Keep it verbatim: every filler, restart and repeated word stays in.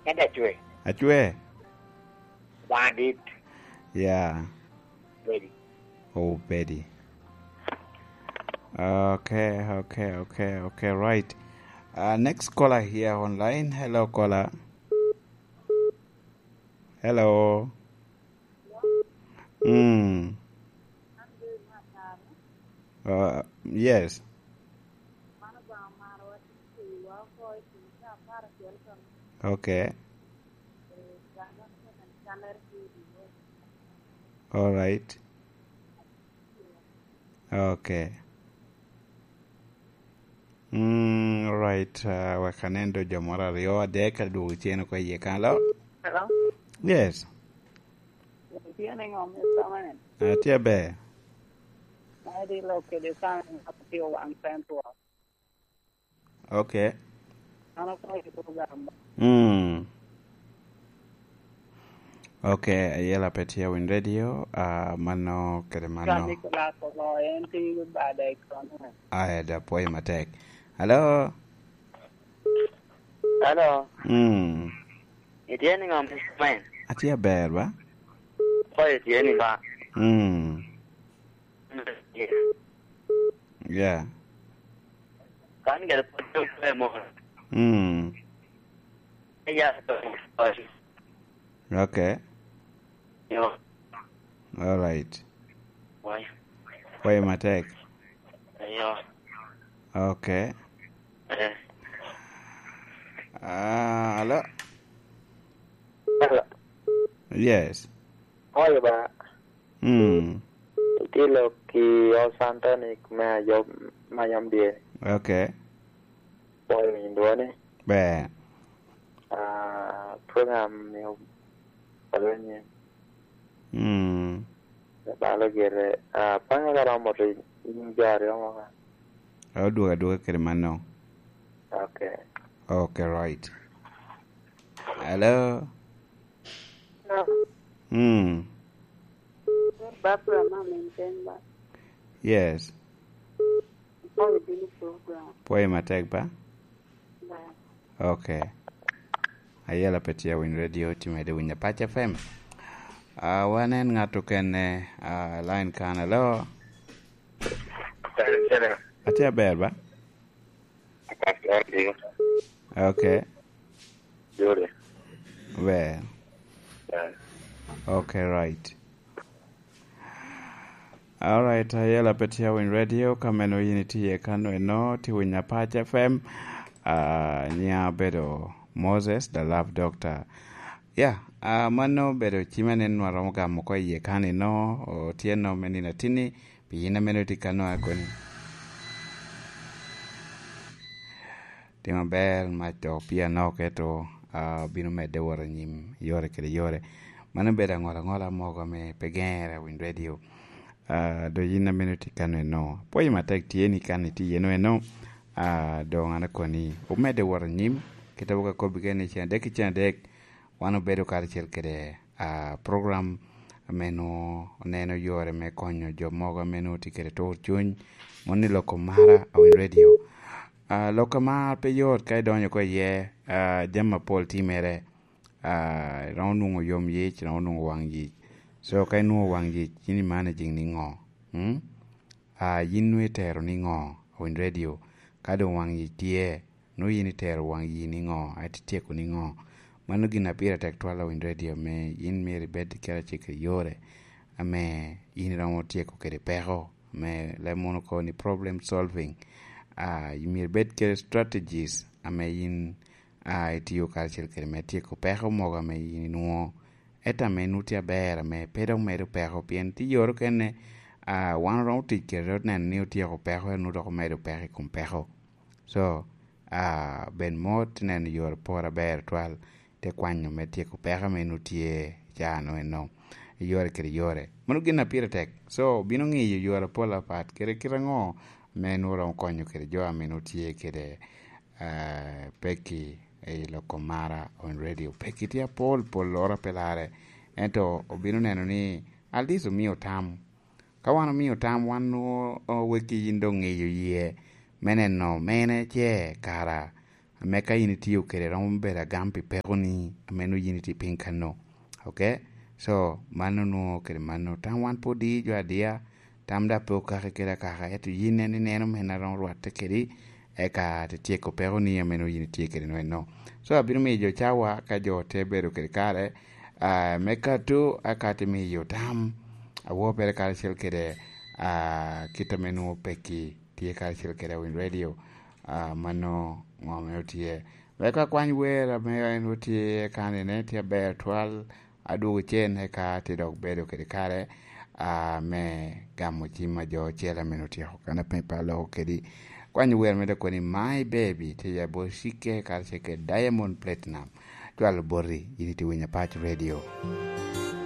Ento acwe. Acwe? Wan adit. Yeah. Ready. Oh, Betty. Okay, okay, okay, okay, right. Uh, next caller here online. Hello, caller. Hello. Mm. Uh, yes. Okay. All right. Okay. Mm, all right. Uh, wek anen do jo moro aryo adek adwogo cen oko iye kan lo. Hello? Yes. Itye niŋo, Mister Man? Atye aber. Adi lok kede kan atye waŋ Central. Okay. An akwayo program. Mm. Okay, ayela pe tye win radio, ah, mano kede mano. Kadi Nicolas olo, en tye bade kono. Aya, da pwoyo matek. Hello? Hello? Mm. Itye niŋo, Mister Man? Atye aber, ba? Pwoyo tye ni ba? Mm. Yeah. Kan gere pwoyo pe mo. Mm. Ya, okay. Yo. All right. Why? Why matek? Yo. Okay. Eh. Ah, hello? Hello. Yes. Oye ba. Mm. Itye lok i Los Anthony me ayom, me ayom dye. Okay. Oye winyo dwoni. Ber. Ah, program ni olwenye. Mm. Balo gire. Ah, panga ka romo to in jo aryo mo ka. Odwogo adwoga kede mano. Okay. Okay, right. Hello? Hello? Mm. Barbara, Mama in Denver. Yes. Pwoyo bino program. Pwoyo matek ba? Ba. Okay. Ayela pe tye winy radio, ti mede winy Apac F M. Ah, wan en ngat okene, ah, line kan, hello? Hello. Atye aber ba? Pastor Dio. Okay. Jure. Ber. Yeah. Okay, right. All right, ayela pe tye winy radio, ka meno yin itye kano eno, ti winy Apac F M. Ah, nya bedo Moses, the Love Doctor. Yeah, ah, mano bedo cime ni nwa romo gamo ko iye kan eno, o tye no me nino atini, pi yin ameno tye kano a koni. Timo ber, mac to pii anok, ento, ah, bino medde wot anyim yore kede yore. Mano bedo aŋola aŋola mogo ame pe geŋere a winy radio. Ah, do yin ameno tye kano eno. Apwoyo matek tye ni kan itye eno eno. Ah, doŋ an akoni, omedde wot anyim. Kit a wok akobbi kene ni cen adek ki cen adek, wan obedo karacel kede, ah, program ame nwo oneno yore me konyo jo mogo ame nwo tye kede tur cuny, moni loko mara a winy radio. Ah, lok amar pe yot ka idonyo ko iye, ah, jami apol timere, ah, iromo nwoŋo yom yic, iromo nwoŋo waŋ yic. So, ka inwoŋo waŋ yic, yin imanaging niŋo? Mm? Ah, yin nwoŋo itero niŋo? Winy radio, ka doŋ waŋ yic tye, nwoŋo yin itero waŋ yic niŋo? Ati tyeko niŋo? Mano gin a pire tek twal a winy radio, ame yin myero ibed kede acel kede yore, ame yin iromo tyeko kede peko, ame leb mono kobo ni problem solving. Ah, myero ibed kede strategies ame yin, ah, itio karacel kede me tyeko peko mogo ame yin inwoŋo. Ento ame nut tye aber, ame pe dok medo peko, pien tye yore okene, ah, wan oromo tic kede neno ni otyeko peko, ento nut dok omedo peko i kom peko. So, ah, bed mot, neno yore pol aber twal, te kwanyo me tyeko peko ame nut tye i caa-nu eno, i yore kede yore. Mano gin a pire tek. So, bino ŋiyo yore pol apat, kede kite aŋo me nwoŋo romo konyo kede jo ame nwoŋo tye kede, eh, pekki i loko mara on radio. Pekki tye apol, pol loro pe larre. Ento obino neno ni at least omio tam. Ka wan omio tam, wan nwoŋo, o, wekki yin doŋ ŋeyo yie me neno mene ce kara me ka in itio kede romo bedo agam pi peko ni ameno yin itye piny kano. Ok? So, mano nwo kede mano. Tam wan pwod i jo adia, tam da pe okaki kede akaka, eto yin en ineno men a romo rwatte kedi, eka te tyeko peko ni ameno yin itye kede nwe no. So, abino miyo jo cawa ka jo te bedo kede kare, ah, me kato, aka te miyo tam, awo pere karacel kede, ah, kit ame nwo peki tye karacel kede Awiny Radio, ah, mano ŋo ame otye. Wek akwany wer ame en otye kanene, tye aber twal, adwogo cen eka tye dok bedo kede kare, ah, me gamo cim a jo ocele ame otyeko kan ape pa loko kedi. Kwanyo wer me dok ni My Baby, tye ya bot Cike, karacel kede Diamond Platinum. Cwalo boti, in itye winyo Apac Radio.